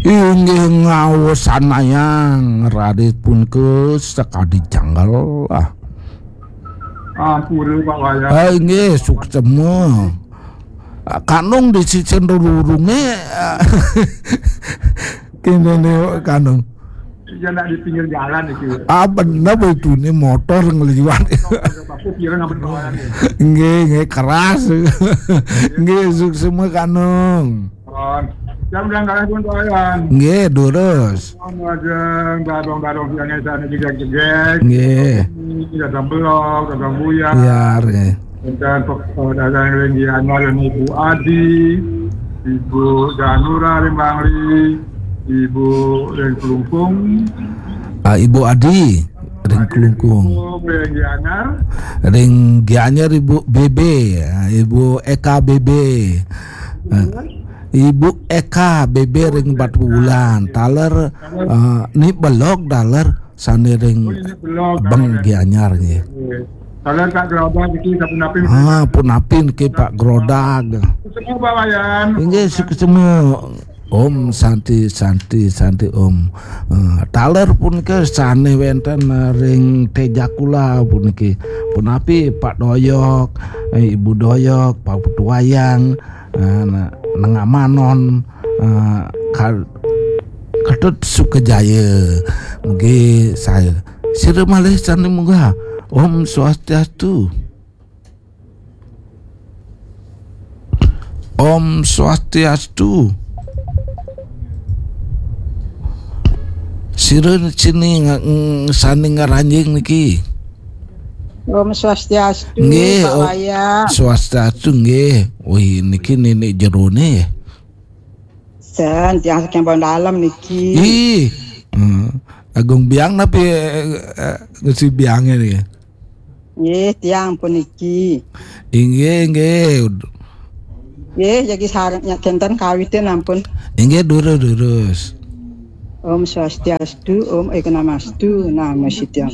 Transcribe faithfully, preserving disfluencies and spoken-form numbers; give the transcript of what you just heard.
Inggih ngawusanayang rarit punika sakadi janggal. Ah. Ampura, Pak Wayan. Ah, inggih, suksema. Ah, kanung di sisien rurunge, ah, kene ne kanung. Ya, nak di pinggir jalan iki. Ah, bener itu, ini motor ngliwat. Aku kira nggak berkawalan ya. Nggih, nggih, keras. Nggih, suksema kanung. Pun. Jam udah nggak pun, Pak Wayan. Nggih, durus. Majeng, dadong-dadong tiang edan iki jegeg. Nggih. Dadong belok, dadong buyar. Buyar, nggih. Enten pek-, eh, dadong ring Gianyar, Ibu Adi, Ibu Danura ring Bangli, Ibu ring Klungkung. Ah, Ibu Adi ring Klungkung. Ibu ring Gianyar. Ring Gianyar Ibu B B, ah, Ibu Eka B B. Ah, Ibu Eka B B ring Batubulan. Taler, ah, Ni Belog taler sane ring Bang Gianyar nggih. Taler Pak Grodag iki sapunapi. Ah, punapi niki Pak Grodag. Semua Pak Wayan. Inggih, suksema. Om Santi, Santi, Santi, Om. Eh, taler punika sane wenten, eh, ring Tejakula puniki. Punapi Pak Doyok, eh, Ibu Doyok, Pak Putu Wayang, eh, na-, Nengamanon, eh, Ka-, Ketut Sukajaya. Mugi saya. Sira malih sane munggah. Om Swastiastu. Om Swastiastu. Sira sini nga-, ng-, sane ngranjing niki. Om Swastiastu, nggih, Pak Om Wayan. Swastiastu, nggih. Wih, niki nenek jerone. Sen, tiang saking Pondok Dalem niki. Ih, hmm. Agung Biang napi, eh, eh, ngisi biange niki? Nggih, tiang puniki. Inggih, inggih. Nggih, jagi sareng nya kenten kawitin ampun. Inggih, durus, durus. Om Swastiastu, Om Eknamastu, Namo Siddham.